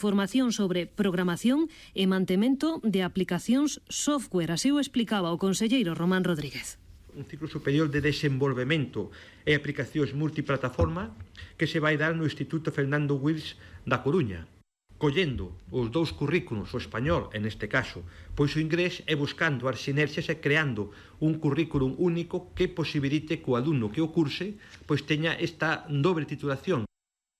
formación sobre programación e mantemento de aplicacións software. Así o explicaba o conselleiro Román Rodríguez. Un ciclo superior de desenvolvemento e aplicacións multiplataforma que se vai dar no Instituto Fernando Wills da Coruña, collendo os dous currículos, o español, en este caso, pois o inglés, e buscando as sinerxias e creando un currículum único que posibilite que o alumno que o curse pois teña esta dobre titulación.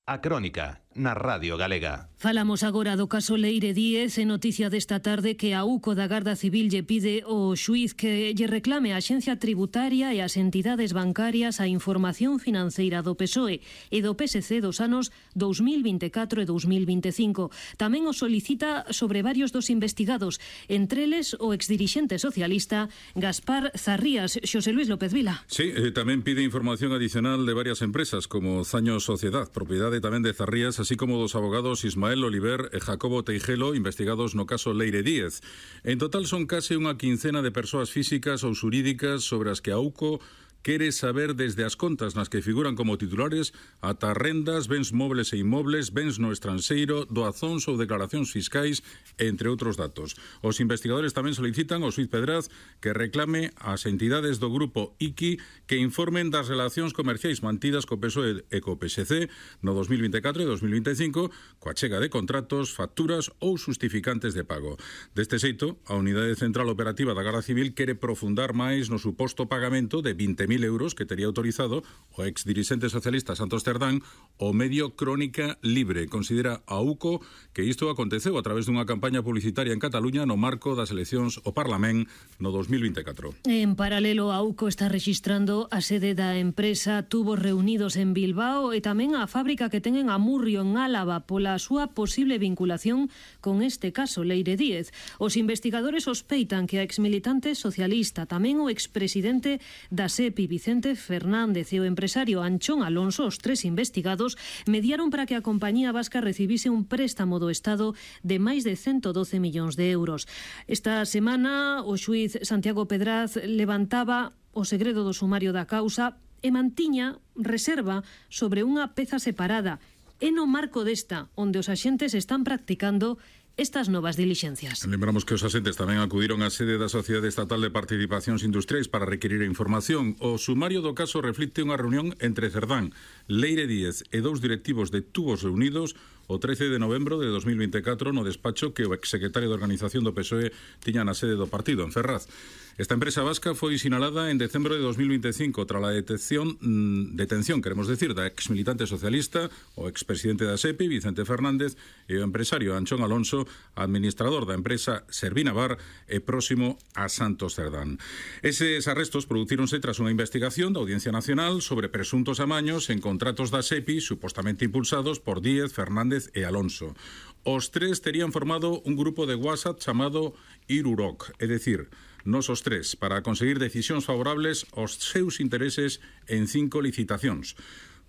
A Crónica, na Radio Galega. Falamos agora do caso Leire Díez, e noticia desta tarde que a UCO da Garda Civil lle pide ao xuíz que lle reclame a Axencia Tributaria e as entidades bancarias a información financeira do PSOE e do PSC dos anos 2024 e 2025. Tamén o solicita sobre varios dos investigados, entre eles o exdirixente socialista Gaspar Zarrías. Xosé Luis López Vila. Sí, tamén pide información adicional de varias empresas como Zaño Sociedad, propiedade tamén de Zarrías, así como dos abogados Ismael Oliver e Jacobo Teijelo, investigados no caso Leire Díez. En total son case unha quincena de persoas físicas ou xurídicas sobre as que a UCO quere saber desde as contas nas que figuran como titulares ata rendas, bens mobles e inmobles, bens no estranxeiro, doazóns ou declaracións fiscais, entre outros datos. Os investigadores tamén solicitan ao xuíz Pedraz que reclame ás entidades do grupo ICI que informen das relacións comerciais mantidas co PSOE e co PSC no 2024 e 2025 coa chega de contratos, facturas ou justificantes de pago. Deste xeito, a Unidade Central Operativa da Garda Civil quere profundar máis no suposto pagamento de 20.000 euros que tería autorizado o exdirixente socialista Santos Cerdán o medio Crónica Libre. Considera a UCO que isto aconteceu a través dunha campaña publicitaria en Cataluña no marco das eleccións ao Parlamento no 2024. En paralelo, a UCO está rexistrando a sede da empresa Tubos Reunidos en Bilbao e tamén a fábrica que ten en Amurrio, en Álava, pola súa posible vinculación con este caso Leire Díez. Os investigadores sospeitan que a exmilitante socialista, tamén o expresidente da SEPI, Vicente Fernández, e o empresario Anchón Alonso, os tres investigados, mediaron para que a compañía vasca recibise un préstamo do Estado de máis de 112 millóns de euros. Esta semana, o xuíz Santiago Pedraz levantaba o segredo do sumario da causa e mantiña reserva sobre unha peza separada. É no marco desta onde os axentes están practicando estas novas dilixencias. Lembramos que os asentes tamén acudiron á sede da Sociedade Estatal de Participacións Industriais para requerir a información. O sumario do caso reflicte unha reunión entre Cerdán, Leire Díez e dous directivos de Tubos Reunidos o 13 de novembro de 2024 no despacho que o exsecretario de Organización do PSOE tiña na sede do partido, en Ferraz. Esta empresa vasca foi sinalada en decembro de 2025 tras a detención, queremos decir, da exmilitante socialista, o expresidente da SEPI, Vicente Fernández, e o empresario Anchón Alonso, administrador da empresa Servinavar e próximo a Santos Cerdán. Eses arrestos producíronse tras unha investigación da Audiencia Nacional sobre presuntos amaños en contratos da SEPI supostamente impulsados por Díez, Fernández e Alonso. Os tres terían formado un grupo de WhatsApp chamado Iruroc, é dicir, nos os tres, para conseguir decisións favorables aos seus intereses en 5 licitacións.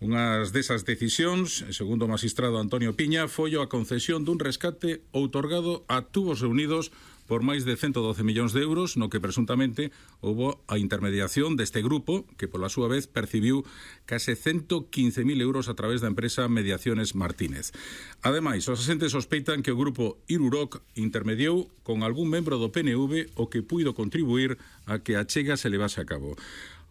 Unhas desas decisións, segundo o magistrado Antonio Piña, foi a concesión dun rescate outorgado a Tubos Reunidos por máis de 112 millóns de euros, no que presuntamente houbo a intermediación deste grupo, que pola súa vez percibiu case 115.000 euros a través da empresa Mediaciones Martínez. Ademais, os asentes sospeitan que o grupo Iruroc intermediou con algún membro do PNV o que puido contribuir a que a chega se levase a cabo.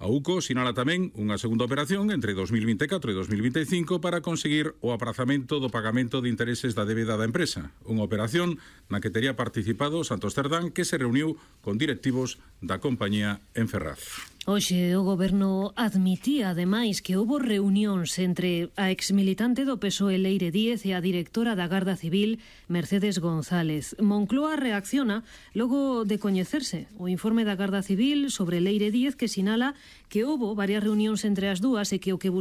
A UCO sinala tamén unha segunda operación entre 2024 e 2025 para conseguir o aprazamento do pagamento de intereses da débeda da empresa. Unha operación na que tería participado Santos Cerdán, que se reuniu con directivos da compañía en Ferraz. Hoxe o Goberno admitía, ademais, que houbo reunións entre a exmilitante do PSOE Leire Díez e a directora da Garda Civil Mercedes González. Moncloa reacciona logo de coñecerse o informe da Garda Civil sobre Leire Díez, que sinala que houbo varias reunións entre as dúas e que o que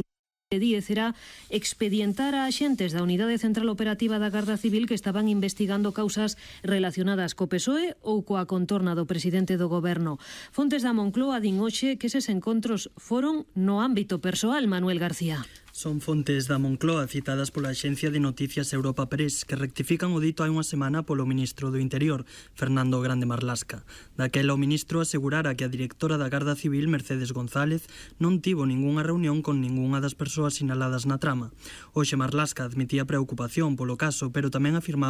Díez era expedientar a axentes da Unidade Central Operativa da Garda Civil que estaban investigando causas relacionadas co PSOE ou coa contorna do presidente do Goberno. Fontes da Moncloa din hoxe que eses encontros foron no ámbito persoal, Manuel García. Son fontes da Moncloa citadas pola axencia de noticias Europa Press que rectifican o dito hai unha semana polo ministro do Interior, Fernando Grande Marlasca. Daquela o ministro asegurara que a directora da Garda Civil, Mercedes González, non tivo ningunha reunión con ningunha das persoas sinaladas na trama. Hoxe Marlasca admitía preocupación polo caso, pero tamén afirmaba